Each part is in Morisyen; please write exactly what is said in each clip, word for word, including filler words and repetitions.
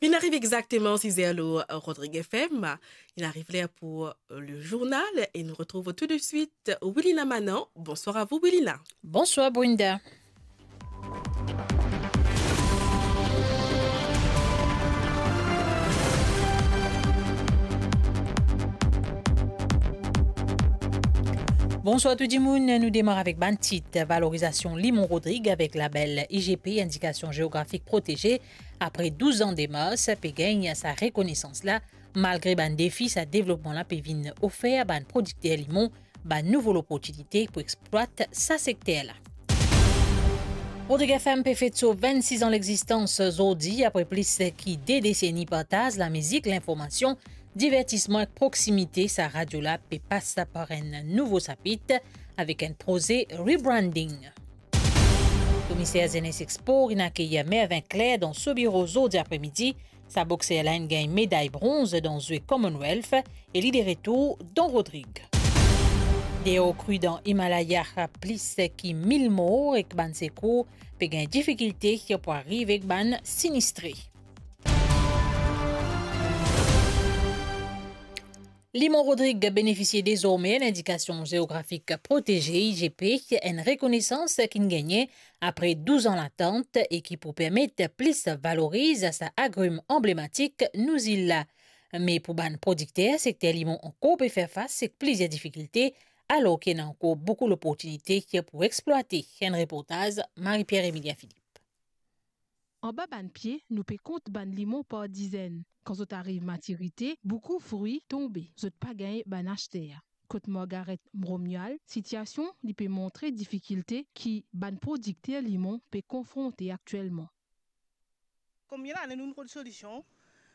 Inn ariv exakteman siz er lor Rodrig F M. Inn ariv ler pou, euh, le journal e nou retrouv tou de suit Wilina Manan. Bonsoir à vous, Wilina. Bonsoir, Brenda. Bonswar tou dimoun, nou demar avek bann tit. Valorizasion limon Rodrig avek label I G P, Indikasion Zeografik Proteze, apre douz an demars, pe gagn sa rekonesans la. Malgre bann defi, sa devlopman la pe vinn ofer bann prodikter limon bann nouvo loportinite pou explwat sa sekter la. Rodrig F M pe fet so vennsis an lexistans zordi, apre plis ki de deseni partaz lamizik, linformasion, divertisman ek proksimite. Sa radio la pe pas par enn nouvo sapit avek enn proze rebranding. Komiser Zenes ek Spor inn akeyir Mervin Clerc dan so biro zordi apremidi. Sa bokser la inn gagn meday bronz dan zwe Commonwealth e li de retour dan Rodrig. Deor kri dan Himalaya, plis ki mil mor ek bann sekour pe gagn difikilte pou ariv ek bann sinistre. Limon Rodrig benefisie dezorme Lindikasion Zeografik Proteze, I G P, enn rekonesans ki'nn gagne apre douz an latant e ki pou permet plis valoriz sa agrim anblematik nou zil la. Me pou bann prodikter, sekter limon ankor pe fer fas ek plizier difikilte, alor ki ena ankor boukou loportinite pou explwate. Enn reportaz Marie-Pierre Emilien Philippe. Anba bann pie, nou pe kont bann limon par dizenn. Kan zot ariv matirite, boukou frwi tonbe, zot pa gagn bann aster. Kot Margaret Bromual, sitiasion li pe montre difikilte ki bann prodikter limon pe konfronte aktielman. Konbien lane nou, nou trouv solision?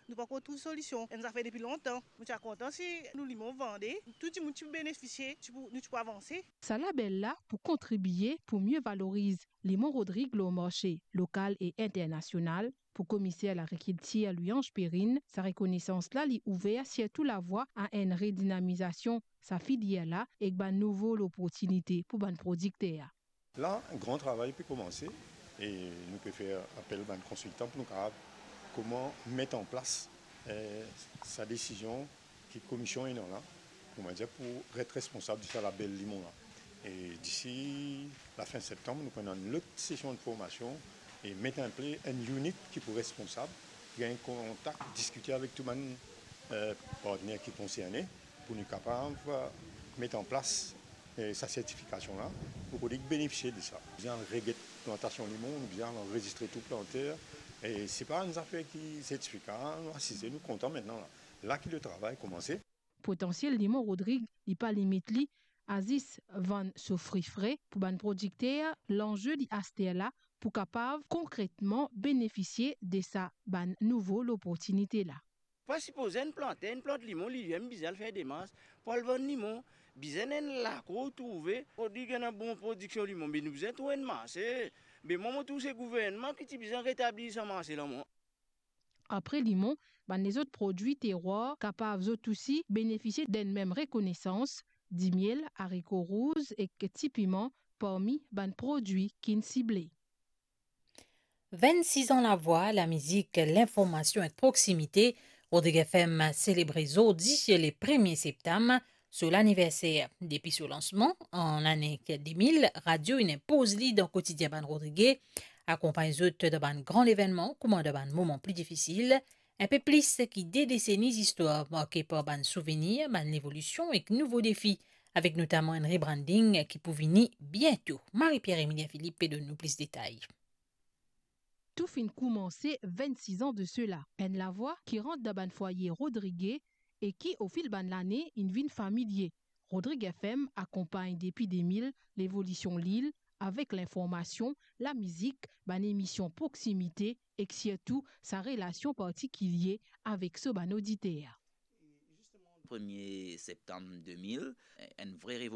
Nou pankor trouv solision. Enn zafer depi lontan. Nou ti a kontan si nou limon vande, tou dimoun ti pou benefisie, ti pou, nou ti pou avanse. Sa label la pou kontribie pou mie valoriz limon Rodrig lor marse lokal e internasional. Pou komiser lagrikiltir Louis-Ange Perrine, sa rekonesans la li ouver sirtou lavwa a enn redinamizasion sa filier la ek bann nouvo loportinite pou bann prodikter. La, gran travay pe koumanse e nou pe fer apel bann konsiltan pou nou kapav kouma met an plas, eh, sa desizion ki komisionn ena la, kouma dir, pou ret responsab de sa label limon la. E disi lafin septanm, nou pou ena enn lot sesion de formasion e met an plas enn unit ki pou responsab, gagn kontak, diskite avek tou bann, eh, partner ki konserne pou nou kapav, eh, met an plas, eh, sa sertifikasion la, pou kouma benefisie de sa. Bizin al reget plantasion limon, bizin al anrezistre tou planter, e se pa enn zafer ki sertifika, nou asize, nou kontan mintnan la. La ki le travay koumanse. Potansiel limon Rodrig, li pa limit li a zis vann so fri fre. Pou bann prodikter, lanze li aster la pou kapav konkretman benefisie de sa bann nouvo loportinite la. Pa sipoze enn planter, enn plant limon, li limem bizin al fer demars pou al vann limon. Bizin enn lakor trouve, pou dir ki ena bon prodiksion limon, be nou bizin trouv enn marse. Be mwa, mo trouv se gouvernman ki ti bizin retablir sa marse la, mwa. Apre limon, bann lezot prodwi terwar kapav zot osi benefisie d'enn mem rekonesans, dimiel, ariko rouz ek ti piman parmi bann prodwi ki'nn sible. Vennsis an lavwa, lamizik, linformasion ek proksimite, Rodrig F M selebre zordi, le premie septam, so laniverser. Depi so lansman an lane de mil, radio inn inpoz li dan kotidien bann Rodrige, akonpagn zot dan bann gran levennman, kouma dan bann moman pli difisil. Inpe plis ki de deseni zistwar marke par bann souvenir, bann levolision ek nouvo defi, avek notaman enn rebranding ki pou vini biento. Marie-Pierre Emilien Philippe pe donn nou plis detay. Tou finn koumanse vennsis an de sela. Enn lavwa ki rant dan bann fwaye Rodrige e ki, ofil bann lane, inn vinn familie. Rodrig F M akonpagn depi de mil levolision lil avek linformasion, lamizik, bann emision proksimite ek sirtou sa relasion partikilie avek so bann oditer. Premie septam de mil, enn vre